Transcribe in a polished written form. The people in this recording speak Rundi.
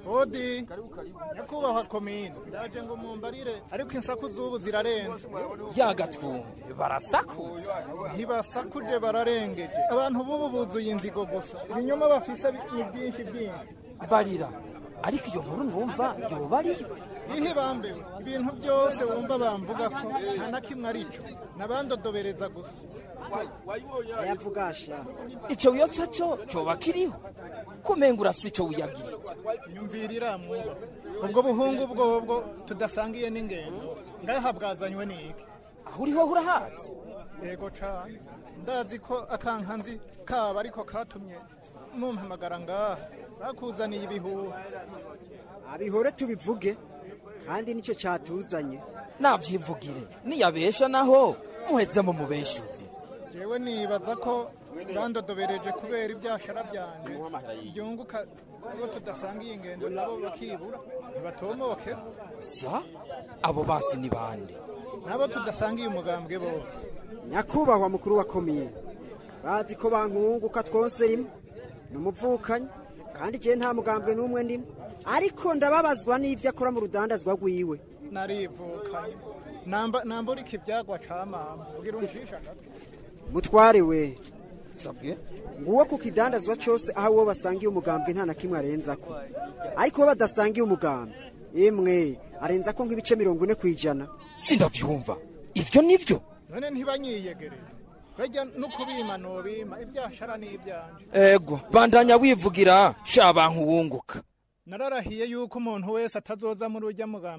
Odi nyakubahwa komine, ndaje ngo mumbarire, ariko insaku z'ubu zirarenze. Yagatwumve barasakutse. Ntibasakuje, bararengeje. Abantu b'ubu buzuye inzigo gusa, ibinyoma bafise ni byinshi byinshi. Barira, ariko iyo nkuru numva yoba ariyo? Ihe bambewe, ibintu byose wumva bamvuga ko nta na kimwe arico, nabandodobereza gusa. Yavugasha. Ico wiyotsa co coba kiriho, kumenga urafise ico wiyabwiritse. Nyumvirira mwuba, ubwo buhungu bwobwo tudasangiye n'ingendo ngaha bwazanywe n'iki? Aho uriho urahazi? Yego cane, ndazi ko akankanzi kaba ariko katumye mumpamagara ngaha. Bakuzaniye ibihuha. Abihore tubivuge, kandi nicyo cyatuzanye. Navyivugire, niyabesha naho muheze mu mubeshuzi. Jewe nibaza ko bandodobereje kubera ibyashara byanje byunguka ubwo tudasangiye ingendo, nabo bakibura ntibatomoke. Sa abo basi ni bande? Nabo tudasangiye umugambwe bose. Nyakubahwa mukuru wa komine, bazi ko bankunguka twose rimwe ni umuvukanyi, kandi igihe nta mugambwe n'umwe ndimo, ariko ndababazwa n'ibyo akora mu rudandazwa rwiwe. Narivukanye, nambura ikibyagwa ca mama ugira uncisha agatwe. Mutware we. Sabwe. Nguwo ku kidandazwa cyose aho uwo basangiye umugambwe nta na kimwe arenzako, ariko uwo badasangiye umugambwe imwe arenzako nk'ibice 40%. Sindavyumva, ivyo nivyo? None ntibanyiyegereze, bajya no kubima nobima ibyashara n'ibyanje. Ego, bandanya wivugira sha bantu wunguka. Nararahiye yuko umuntu wese atazoza muri urya mugambwe.